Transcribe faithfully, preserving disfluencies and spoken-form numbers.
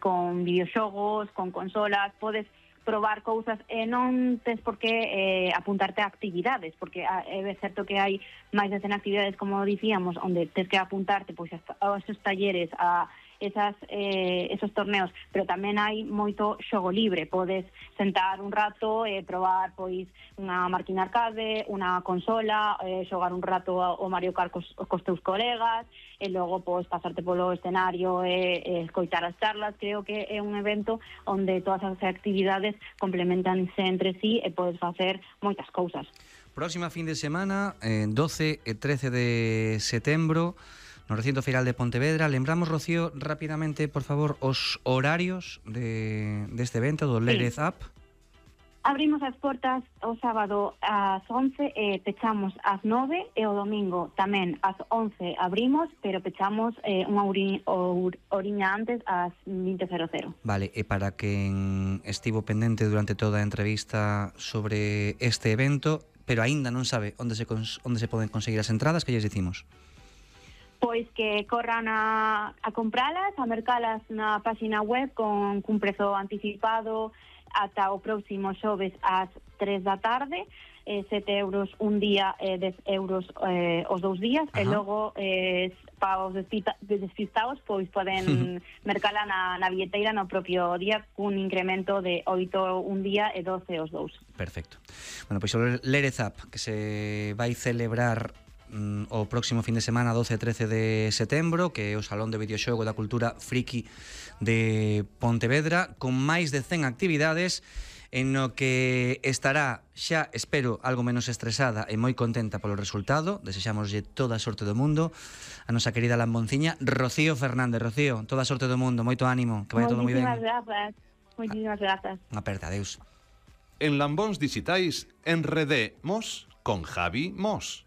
con videoxogos, con consolas, podes probar cousas e non tes por que eh, apuntarte a actividades, porque é certo que hai máis de cen actividades, como dicíamos, onde tes que apuntarte pois a esos talleres, a esas, eh, esos torneos, pero tamén hai moito xogo libre. Podes sentar un rato e probar pois unha máquina arcade, unha consola, eh, xogar un rato o Mario Kart cos, cos teus colegas, e logo pois pasarte polo escenario e, e escoitar as charlas. Creo que é un evento onde todas as actividades complementanse entre sí e podes facer moitas cousas. Próxima fin de semana, eh, doce e trece de setembro, no recinto feiral de Pontevedra. Lembramos, Rocío, rapidamente, por favor, os horarios de, deste evento, do Lérez Sí. Up. Abrimos as portas o sábado ás once e pechamos ás nove, e o domingo tamén ás once abrimos, pero pechamos eh, unha ori, or, oriña antes ás vinte cero cero. Vale, e para quen estivo pendente durante toda a entrevista sobre este evento, pero aínda non sabe onde se, cons, onde se poden conseguir as entradas, que lles dicimos? Pois que corran a, a compralas, a mercalas na página web con cun prezo anticipado ata o próximo xoves ás tres da tarde, eh, sete euros un día e dez euros eh, os dous días. Ajá. E logo eh, para os despistados pois poden mercala na, na billeteira no propio día, cun incremento de oito un día e doce os dous. Perfecto. Bueno, pois o Lérez Up, que se vai celebrar o próximo fin de semana, doce e trece de setembro, que é o Salón de Videoxogo da Cultura Friki de Pontevedra, con máis de cen actividades, en no que estará, xa espero, algo menos estresada e moi contenta polo resultado. Desexámoslle toda a sorte do mundo a nosa querida lambonciña Rocío Fernández. Rocío, toda a sorte do mundo, moito ánimo, que vai todo moi ben. Moitísimas grazas. Moitísimas grazas. Unha aperta, adeus. En Lambóns Dixitais enredemos con Javi Mos.